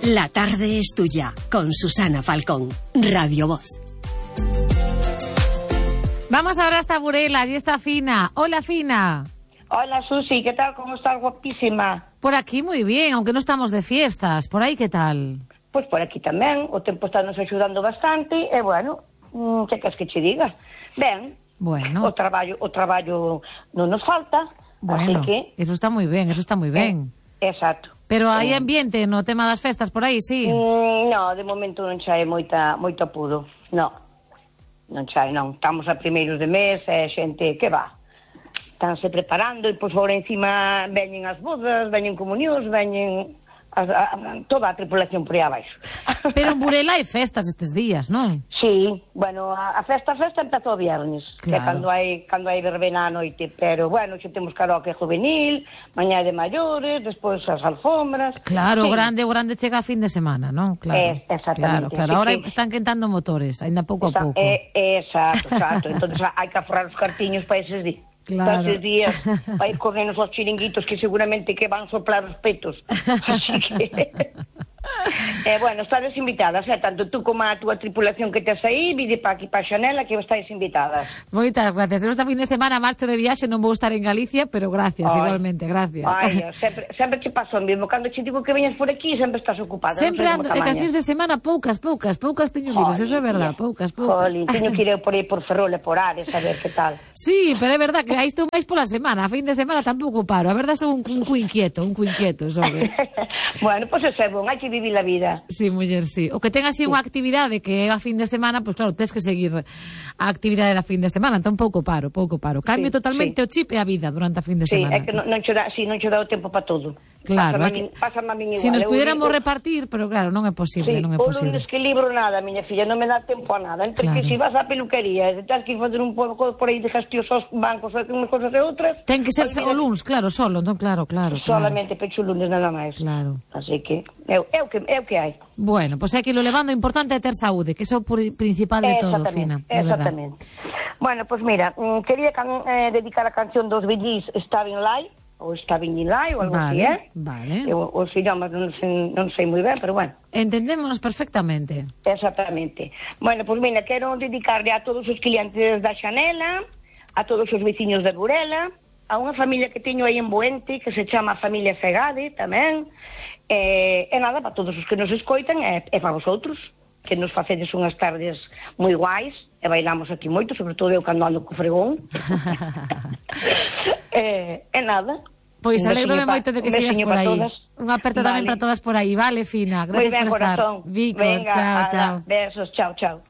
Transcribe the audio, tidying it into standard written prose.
La tarde es tuya, con Susana Falcón, Radio Voz. Vamos ahora hasta Burela, allí está Fina. Hola, Fina. Hola, Susi, ¿qué tal? ¿Cómo estás? Guapísima. Por aquí muy bien, aunque no estamos de fiestas. ¿Por ahí qué tal? Pues por aquí tamén, o tempo está nos axudando bastante, e bueno, que queres que che diga? Ben, bueno. o traballo non nos falta, bueno, así que... Eso está moi ben, eso está moi ben. Exacto. Pero hai ambiente no tema das festas por aí, sí? No, de momento non chae moito apudo, non chae, non. Estamos a primeiros de mes, e xente que va. Estánse preparando, e pois agora encima veñen as bodas, veñen comunións, veñen... toda a tripulación por aí abaixo. Pero en Burela hai festas estes días, non? Sí, bueno, a festa empezou o viernes, claro. Que cando hai verbena á noite, pero bueno, xe temos karaoke juvenil, mañá de maiores, despois as alfombras. Claro, sí. o grande chega a fin de semana, non? Claro. Exactamente. Claro. Ahora están quentando motores, ainda pouco a pouco. Exacto. Entonces hai que aforrar os cartiños para eses días. Claro. Estes días vai correndo os chiringuitos que seguramente que van soplar os petos. Así que... bueno, estades invitadas, tanto tú como a túa tripulación que tes aí, vide para aquí para Xanela que estáis invitadas. Moitas gracias. Esta fin de semana marcho de viaxe, non vou estar en Galicia, pero gracias, igualmente, gracias. Sempre te paso o mesmo. Cando che digo que veñas por aquí, sempre estás ocupada. Sempre ando, que as fins de semana poucas teño libres, eso é verdad, poucas. Jolín, teño que ir por aí por Ferrol e por Ares a ver que tal. Sí, pero é verdad que aí estou máis pola semana, a fin de semana tampouco paro, a verdad son un cu inquieto, sobre. Bueno, pois é bon, hai que vivir a vida. Sí, muller, sí. O que ten así unha actividade que é a fin de semana, pois claro, tens que seguir a actividade da fin de semana, entón pouco paro. Cambio totalmente o chip e a vida durante a fin de semana. Sí, é que non che dá o tempo para todo. Claro, pásame a min igual. Si nos pudiéramos repartir, pero claro, non é posible, non é posible. O lunes que libro nada, miña filla, non me dá tempo a nada. Entre que si vas á peluquería, e tens que fazer un pouco por aí de gestiones aos bancos, unhas cosas e outras... Ten que ser o lunes, claro, solo, entón claro. Solamente pecho o lunes, nada máis. Claro. Así que, é o que hai. Bueno, pois é que lo levando, o importante é ter saúde, que é o principal de todo, Fina. Exactamente. Bueno, pois mira, quería dedicar a canción dos Billys, Stabbing Live, ou Stabbing in Live, ou algo así, Vale. Os idiomas non sei moi ben, pero bueno. Entendémonos perfectamente. Exactamente. Bueno, pois mira, quero dedicarle a todos os clientes da Xanela, a todos os veciños de Burela, a unha familia que teño aí en Boente, que se chama Familia Fegade, tamén, e nada, para todos os que nos escoitan, e para vosotros, que nos facedes unhas tardes moi guais, e bailamos aquí moito, sobre todo eu cando ando co fregón. E nada. Pois alegro-me moito de que sigas por aí. Unha aperta tamén para todas por aí, vale, Fina? Gracias por estar. Bicos, chao. Besos, chao.